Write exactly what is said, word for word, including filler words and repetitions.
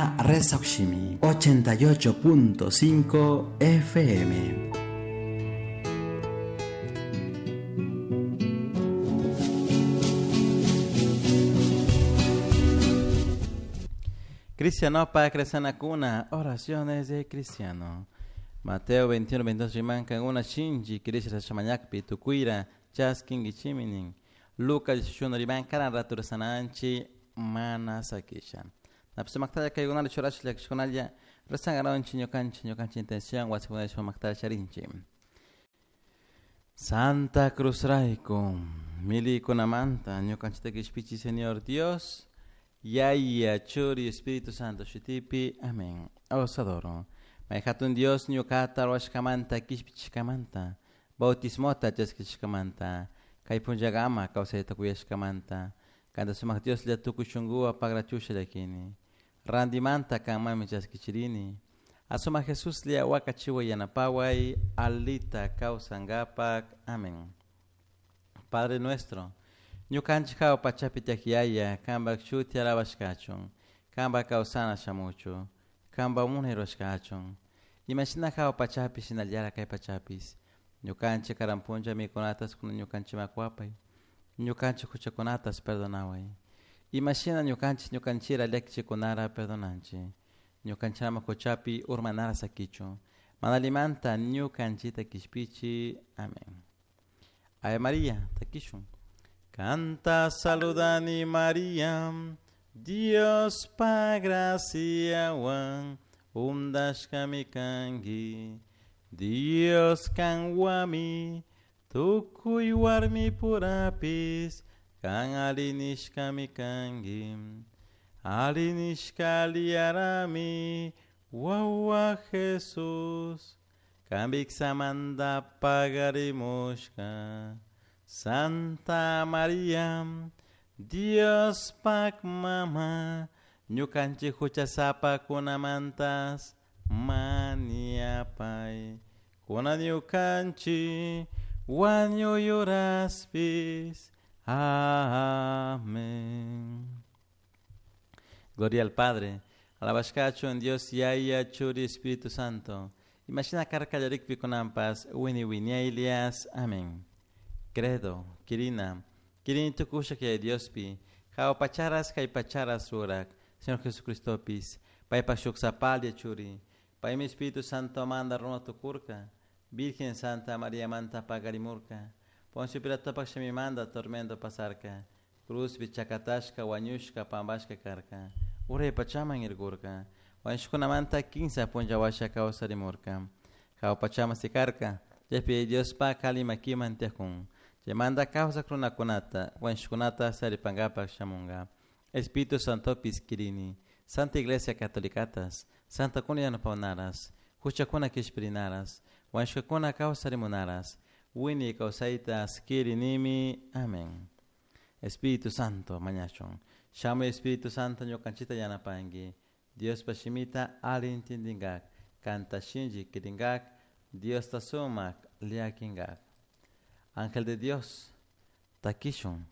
Kankuna Rezaushimi ochenta y ocho punto cinco F M. Cristiano para Cuna, oraciones de cristiano. Mateo veintiuno, veintidós, rimankan una shinji, Krishna shamañakpi, tukuira, chaskin gichiminin. Lucas dieciocho, rimankan ratursananchi, mana sakisha. Napsumaktaya kaygunal churash lakshkunalla, rezangaronchi, ñukanchi, ñukanchi intención, wasikunal shumaktaya charinchi. Santa Cruz Raico, milikunamanta, ñukanchita kishpichi, Señor Dios, Yaya, Churi, Espíritu Santo, Shitipi, amén. Os adoro. Mayhatun Dios, ñukata, ruashkamanta, kishpichkamanta, bautismota, chaskichkamanta, kaypunllagama, kawsayta kuyashkamanta, kanta sumaq Dios lla tukuy shunkuwa pagrachusha llakini, randimanta kanmami chaskichirini, asuma Jesús lla wakachiwa yanapaway, alita kawsankapak, amén. Padre nuestro, ñukanchik hawa pachapi tiyak yaya, kanpak shuti alabashkachun, kanpak kawsana shamuchu, kanpak munay rurashkachun. Imashina hawa pachapi shinallara kay pachapis, ñukanchik karan punlla mikunatas kuna ñukanchik makuapay, ñukanchik huchakunatas perdonaway. Imashina ñukanchik ñukanchira llakichikunara perdonanchik, ñukanchama huchapi urmanara sakichun, manalimanta ñukanchita kishpichi. Amén. Ave María, takishun. Canta saludani María, Dios pa graciawan, undashkami kanki, Dios kanwami, tukuy warmi purapis, kan alinishkami kanki, alinishka liarami, wawa Jesús, kambiksamanta pagarimushka. Santa María, Dios pak mama, ñukanchik huchasapa kunamantas maniapay, kuna ñukanchik wañuyuraspis. Amén. Gloria al Padre, alabashkachu en Dios Yaya, Churi, Espíritu Santo. Imagina karkallarikpi kunampas, wini winiailias. Amén. Credo, Kirina, Kirin tukusha que Diospi, jao pacharas kai pacharas urak, Señor Jesucristopis, pai pashuxapalia churi, pai mi Espíritu Santo manda runa tukurka, Virgen Santa María manta pagarimurka, Poncio Pilato pakshami manda tormento pasarka, Cruz bichakatashka wañushka pambashka karka, Uray pachaman irgurka, Wanshkuna manta quince punjawasha kawsarimurka, Jao pachama sikarka, Jepi Dios pa kalimakiman tiakun. Manda causa krunakunata, wanshkunata saripangapak shamunga. Espíritu Santo piskirini, Santa Iglesia Catolicatas, Santa kuna yanapaunaras, huchakuna kishpirinaras, wanshkakuna kawsarimunaras, wini kawsaitas kirinimi. Amén. Espíritu Santo, mañachon. Shamu Espíritu Santo ñukanchita yanapangi. Dios pashimita alintindingak, kanta shinji kiringak, Dios tasumak liakingak. Ángel de Dios, takishun,